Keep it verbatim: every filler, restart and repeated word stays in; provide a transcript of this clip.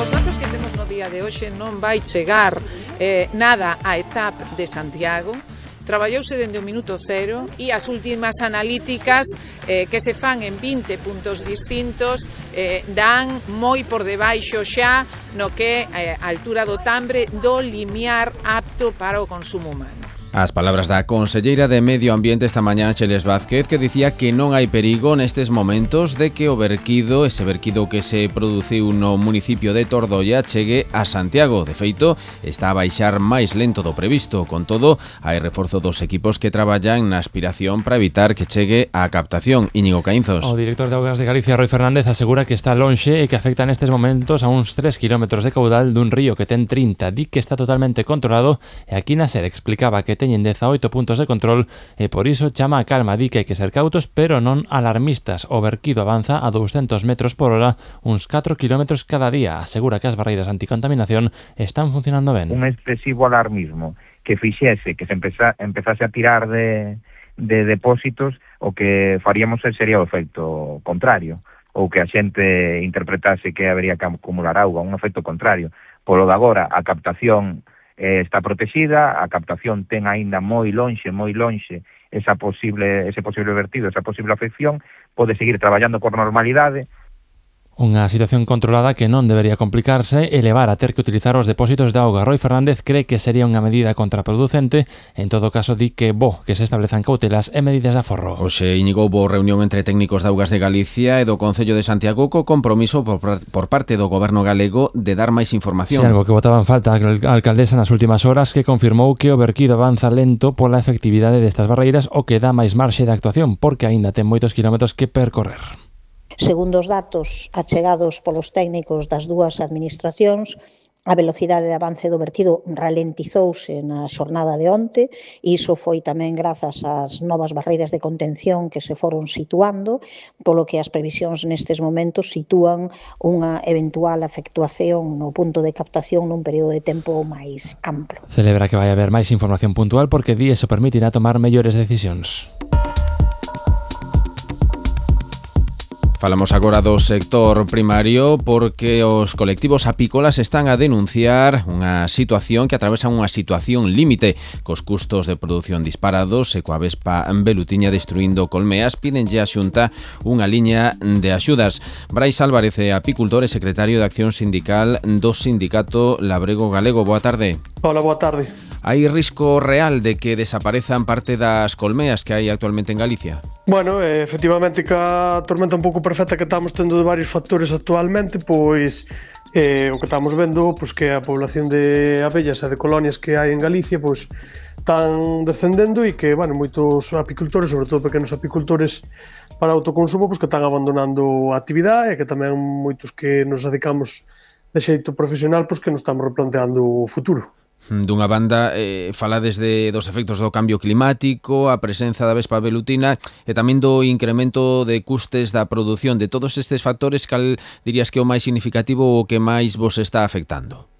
Cos datos que temos no día de hoxe non vai chegar eh, nada á etapa de Santiago. Traballouse dende o minuto cero e as últimas analíticas eh, que se fan en vinte puntos distintos eh, dan moi por debaixo xa no que eh, a altura do Tambre do limiar apto para o consumo humano. As palabras da conselleira de Medio Ambiente esta mañá, Xeles Vázquez, que dicía que non hai perigo nestes momentos de que o verquido, ese verquido que se produciu no municipio de Tordoia, chegue a Santiago. De feito, está a baixar máis lento do previsto. Con todo, hai reforzo dos equipos que traballan na aspiración para evitar que chegue a captación. Íñigo Caínzos. O director de Augas de Galicia, Roi Fernández, asegura que está lonxe e que afecta nestes momentos a uns tres kilómetros de caudal dun río que ten trinta. Di que está totalmente controlado e aquí na SER explicaba que teñen dezaoito puntos de control e por iso chama a calma. Di que hai que ser cautos pero non alarmistas. O verquido avanza a douscentos metros por hora, uns catro kilómetros cada día. Asegura que as barreiras anticontaminación están funcionando ben. Un excesivo alarmismo que fixese que se empeza, empezase a tirar de, de depósitos, o que faríamos sería o efecto contrario, ou que a xente interpretase que habería que acumular auga, un efecto contrario. Polo de agora, a captación Eh, está protexida, a captación ten aínda moi lonxe, moi lonxe esa posible, ese posible vertido, esa posible afección, pode seguir traballando por normalidade. Unha situación controlada que non debería complicarse e levar a ter que utilizar os depósitos de auga. Roi Fernández cree que sería unha medida contraproducente. En todo caso, di que bo que se establezan cautelas e medidas de aforro. Hoxe, Íñigo, houbo reunión entre técnicos de Augas de Galicia e do Concello de Santiago co compromiso por, por parte do Goberno galego de dar máis información. Si, algo que botaba en falta a alcaldesa nas últimas horas, que confirmou que o verquido avanza lento pola efectividade destas barreiras, o que dá máis marxe de actuación, porque aínda ten moitos kilómetros que percorrer. Segundo os datos achegados polos técnicos das dúas administracións, a velocidade de avance do vertido ralentizouse na xornada de onte e iso foi tamén grazas ás novas barreiras de contención que se foron situando, polo que as previsións nestes momentos sitúan unha eventual efectuación no punto de captación nun período de tempo máis amplo. Celebra que vai haber máis información puntual porque di iso permitirá tomar mellores decisións. Falamos agora do sector primario porque os colectivos apícolas están a denunciar unha situación que atravesan unha situación límite cos custos de produción disparados e coa vespa velutiña destruindo colmeas. Pídenlle á Xunta unha liña de axudas. Brais Álvarez é apicultor e secretario de Acción Sindical do Sindicato Labrego Galego. Boa tarde. Hola, boa tarde. Hai risco real de que desaparezan parte das colmeas que hai actualmente en Galicia? Bueno, eh, efectivamente, que a tormenta un pouco perfecta que estamos tendo de varios factores actualmente, pois eh, o que estamos vendo, pois que a población de abellas e de colonias que hai en Galicia, pois están descendendo e que, bueno, moitos apicultores, sobre todo pequenos apicultores para autoconsumo, pois que están abandonando a actividade e que tamén moitos que nos dedicamos de xeito profesional, pois que nos estamos replanteando o futuro. Dunha banda, eh, falades de, dos efectos do cambio climático, a presenza da vespa velutina e tamén do incremento de custes da produción. De todos estes factores, cal dirías que é o máis significativo ou o que máis vos está afectando?